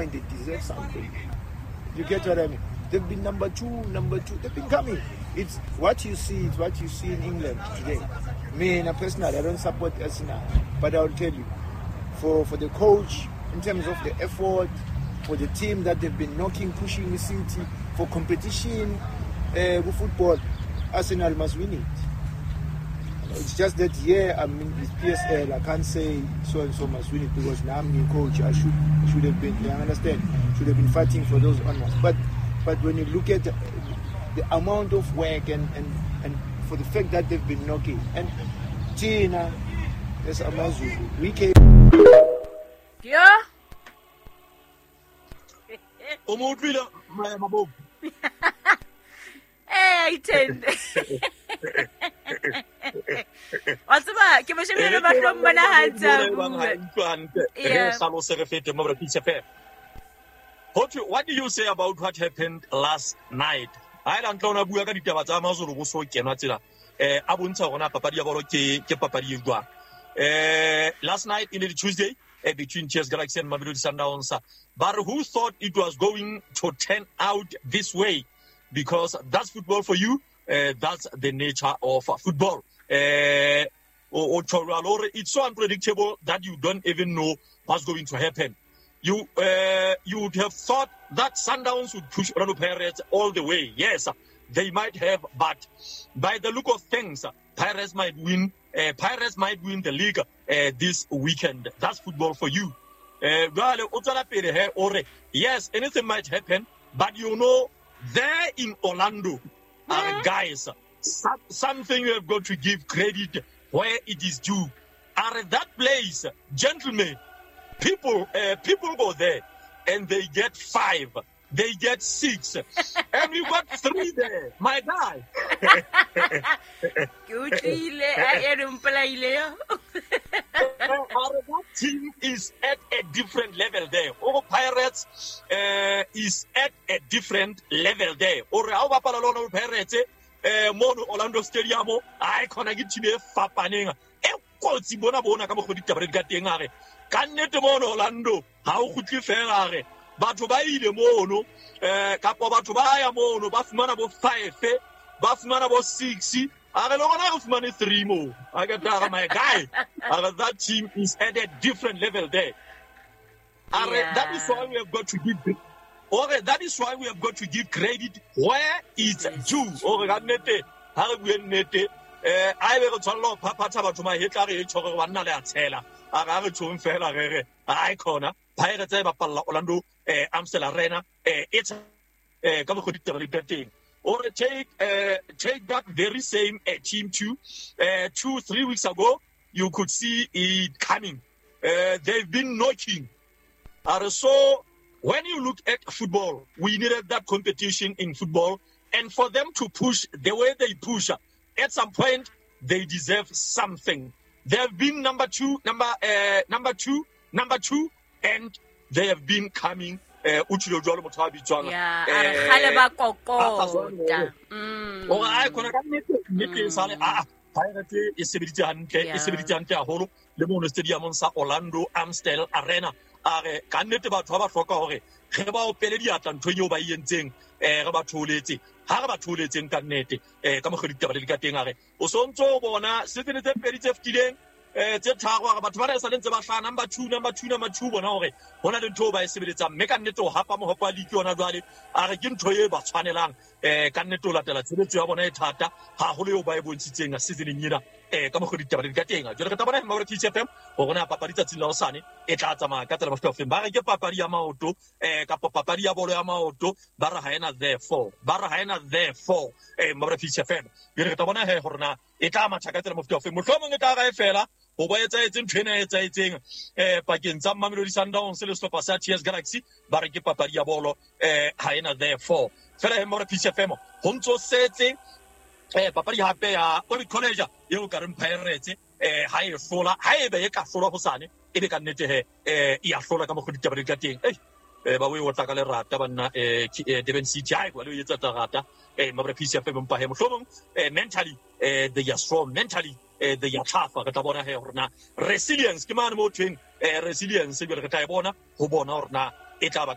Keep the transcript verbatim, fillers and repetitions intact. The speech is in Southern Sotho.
point they deserve something. You get what I mean? They've been number two, number two. They've been coming. It's what you see, it's what you see in England today. Me, and personally, I don't support Arsenal, but I'll tell you, for, for the coach, in terms of the effort, for the team that they've been knocking, pushing the City, for competition, uh, football, Arsenal must win it. It's just that yeah, I mean it's P S L. I can't say so and so must win it because now I'm new coach. I should should have been. You understand? Should have been fighting for those honors. But but when you look at the, the amount of work and, and, and for the fact that they've been knocking and Tina, there's Amazulu. We came. Yeah. Hey, ten. Wa tseba ke mo shebile mahlong mona ha ntse What do you say about what happened last night? Ha ela ntlo ona bua ka ditaba tsa Amazulu bo so kenwa tsela eh a bontsha hore na papadi ya bolo ke ke papadi e jwang. Eh last night in the Tuesday eh, between T S Galaxy and Mamelodi Sundowns, but who thought it was going to turn out this way? Because that's football for you. Uh, that's the nature of football. Uh, it's so unpredictable that you don't even know what's going to happen. You uh, you would have thought that Sundowns would push Orlando Pirates all the way. Yes, they might have, but by the look of things, Pirates might win. Uh, Pirates might win the league uh, this weekend. That's football for you. Uh, yes, anything might happen, but you know, there in Orlando, uh, guys, something you have got to give credit where it is due. Are that place, gentlemen, people, uh, people go there and they get five, they get six, and we got three there, my guy. That team is at a different level there. Or Pirates uh, is at a different level there. Or how bapala Pirates eh mono Orlando Stadium ai khona ke team e fapaneng e kotsi bona bona ka mogodi taba di ka teng a re ka nnete mono Orlando ha o kgutle fela a re batho ba ile mono eh kapo batho ba ya mono ba fumana bo five ba fumana bo six a re le rona re fumane three mo a ke tla my guy a re that team is at a different level there. A re that is why we have got to give Ore, that is why we have got to give credit where it's due. Ore, ka nnete, ha re bue nnete, eh, a ebe re tshwanela ho phaphatha batho mahetla re e tjho re banna le a tshela. A re a re tjhong fela re re, ai khona, Pirates e bapalla Orlando, eh, Amstel Arena, eh, it's eh, ka mokgwa ditaba di ka teng. Ore, take, eh, take that very same eh, team two, eh, two, three weeks ago, you could see it coming. Eh, they've been knocking. Are so when you look at football, we needed that competition in football. And for them to push the way they push, at some point, they deserve something. They have been number two, number uh, number two, number two, and they have been coming. Yeah, Pirates e sebeditse hantle, e sebeditse hantle haholo le mono stadiumong sa Orlando Amstel Arena. A re ka nnete batho ba ba hloka hore re ba opele diatla nthong eo ba e entseng, eh re ba tholetse ha re ba tholetseng ka nnete eh ka mokgwa ditaba di ka teng. A re o sontso o bona season tse pedi tse fetileng eh tse tharo, a re batho ba re sa le ntse ba hlaha number two, number two, number two, bona hore hona le ntho ba e sebeletsang mme ka nnete o hapa mohope wa league yona jwale. A re ke ntho e ba tshwanelang eh ka nnete o latela tshebetso ya bona e thata haholo eo ba e bontshitseng seasoneng ena eh ka mokgwa ditaba di ka teng. Jwale re tla bona Mamelodi T F M hore na papadi tsatsing la hosane e tla tsamaya ka tsela mofuta ofeng. Ba re ke papadi ya maoto eh kapa papadi ya bolo ya maoto, ba re ha ena therefore, ba re ha ena therefore eh Mamelodi T F M. Jwale re tla bona he hore na e tla matha ka tsela mofuta ofeng. Mohlomong e tla ra e fela ho ba etsaetseng ntho ena e etsaetseng eh pakeng tsa Mamelodi Sundowns le sehlopha sa T S Galaxy, ba re ke papadi ya bolo eh ha ena therefore. Fela he Mamelodi T F M ho ntso setse eh papadi hape ya Orbit College eo ka reng Pirates eh ha e hlola, ha ebe e ka hlola hosane e be ka nnete he eh e a hlola ka mokgwa ditaba di ka teng. Eh eh ba o e otla ka lerata banna eh Durban City ha e kwa le o etsa lerata eh Mamelodi T F M mpa he mohlomong eh mentally eh they are strong mentally eh they are tough. Re tla bona he hore na resilience ke mane mo thweng eh resilience jwale re tla e bona ho bona hore na e tla ba